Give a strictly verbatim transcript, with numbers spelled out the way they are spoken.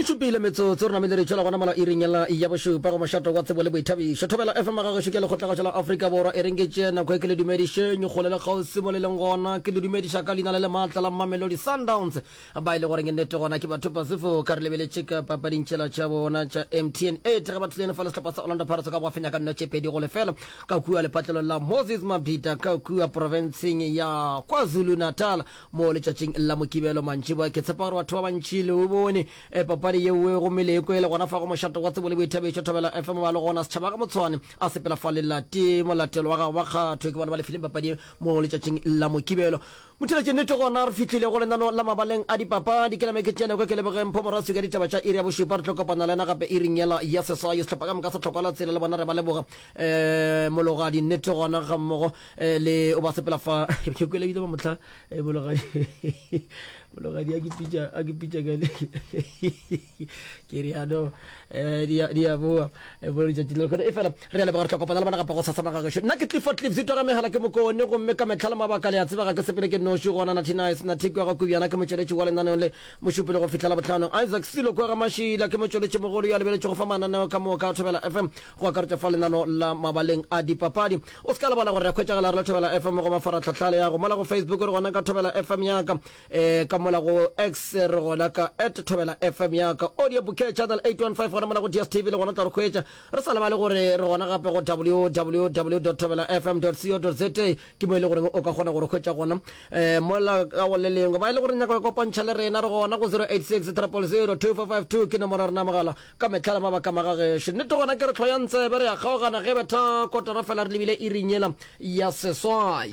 šupile metsotso re namile re tšwela gona mola iring yela ya bošupa go mošato wa tsebo le boithabišo. Thobela F M gagešo ke lekgotlagašo la Afrika Borwa. E reng ke tšee nako e ke le dumedišeng kgole le kgauswi mo le leng gona. Ke le dumediša ka leina le le maatla la Mamelodi Sundowns ba e le goreng nnete gona ke batho Pasifo ka re lebeletše ka papading tšela tša bona tša M T N eight ge ba thulene fa le sehlopha sa Orlando Pirates ka go fenya ka nno tše pedi go lefela ka kua lepatlelong la Moses Mabhida ka kua profenseng ya KwaZulu Natal mo letšatšing la Mokibelo mantšiboa. Ke tshepa gore batho ba bantši le o bone e papadi yeo gomme le kwele gona fa go mošato wa tsebo le boithabišo Thobela F M. Ba le gona setšhaba ga motshwane a sepela fa lelate molatelo wa gago wa kgatho ke bona ba lefileng papadi mo letšatšing la Mokibelo. Motheletše nnete gona re fihlile go lenano la mabaleng a dipapadi. Ke name ke tšene kwa ke lebogeng Mpho Moraswi ka ditaba tša iri ya bošupa. Re tlo kopana le yena gape iring yela ya seswai. Sehlopha ka moka sa tlhokwa la tsela le bona re ba leboga um mologadi nnete gona ga mmogo eh, le o ba sepela fa ke kwele ebile ba mohla eh, mologadi mologadi a ke pitša a ke pitša ka le ke re ano eh, di a di a boa eh, bo letšatši le lekgone e fela re a leboga. Re tlo kopana le bona gape go sasana gagešo. Nna ke Clifford Cliff Zito ga megala ke mokone gomme ka metlha le mabaka le a tseba ga ke sepele ke noši gona. Nathinice Nathikwa ga Kubjana ke motšweletši wa lenaneo le mošupile go fihlela botlhanong. Isaac Silo kwa ga Mašila ke motšweletši mogolo yo a lebeletšego fa mananeo ka moka a Thobela F M go akaretša fa lenano la mabaleng a dipapadi. O se ka lebala gore re hwetšagala re le Thobela F M go mafaratlhatlha le ya go mola go Facebook re gona ka Thobela F M yaka, um ka mola go X re gona ka at Thobela F M yaka, audio bouquet channel eight one five gona mola go D S T V le gona tla re hwetša. Re sa lebale gore re gona gape go W W W thobela F M co za, ke mo e le goreng o ka kgona gore hwetša gona um mola ka go le lengwe ba e le gore nyaka go kopantšha le rena re gona go zero eight six triple zero two four five two, ke nomoro ya rena mogala ka metlha le mabaka magagešo. Nnete gona ke re tlhoyang tsebe re ya kgaogana ge betha kotara fela re lebile iring yela ya seswai.